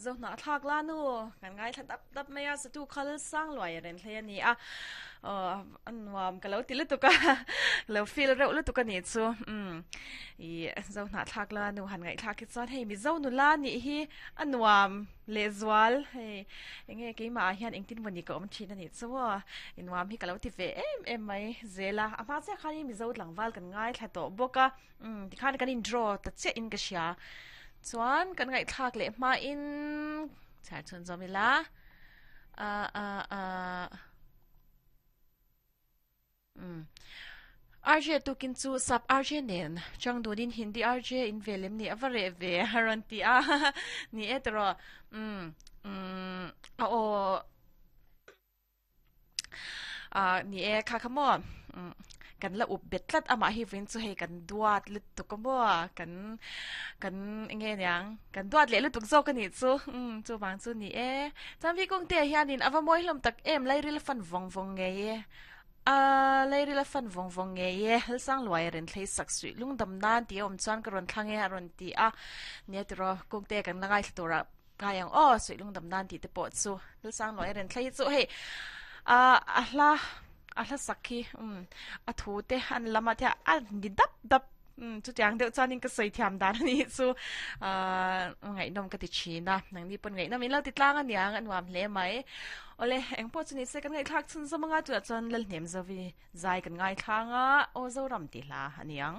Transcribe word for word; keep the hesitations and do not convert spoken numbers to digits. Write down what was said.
Zo hna thlak la nu kan ngaithla dap dap mai a satu khal sang luai a ren hlei a ni a aw a nuam ka lo ti lutuk a lo feel reuh lutuk a nih chu umm ih zo hna thlak la nu han ngaihthlak hi chuan hei mizo nula nih hi a nuam lehzual hei enge keimah ah hian engtin maw ni ka awm thin a nih chu aw i nuam hi ka lo ti ve em em mai zel a a hma chiah khan in mizo tlangval kan ngaithla tawh bawk a umm tikhan kan in draw ta chiah in ka hria. Chuan kan ngaihthlak leh hmain chhiar chhun zawm ila a a a um R J tukin chu sap R J nen chang dunin Hindi R J in ve lem ni a va reh ve a rawn ti a ni e tawh um um a aw Ah ni e kha kha maw kan la up bet tlat amah hi vawiin chu hei kan duat lutuk a maw kan kan enge niang kan duat leh lutuk zawk a nih chu umm chuvang chu ni e chuan vikung te ah hianin a va mawi hlawm tak em lairil a fan vawng vawng ngei e a lairil a fan vawng vawng ngei e Hlsang luai a rawn thlei sak suih lungdam nan tih a awm chuan ka rawn thlang e a rawn ti a nia tiraw kungte kan la ngaithla tur ah Ngai ang aw, suih lungdam nan tih te pawh chu Lalsang Luai a rawn thlei hi chu hei ah a hla a hla sak hi umm a thu te an lam ah te a ni dap dap umm chutiang deuh chuanin ka sawi thiam dan a nih chu ah ngaihnawm ka ti thin a nangni pawn ngaihnawm in lo ti tlang a niang a nuam hle mai awle eng pawh chu ni se kan ngaihthlak chhun zawm anga tunah chuan Lalhnem Zovi zai kan ngaithlang a aw Zoram tih hla a ni ang.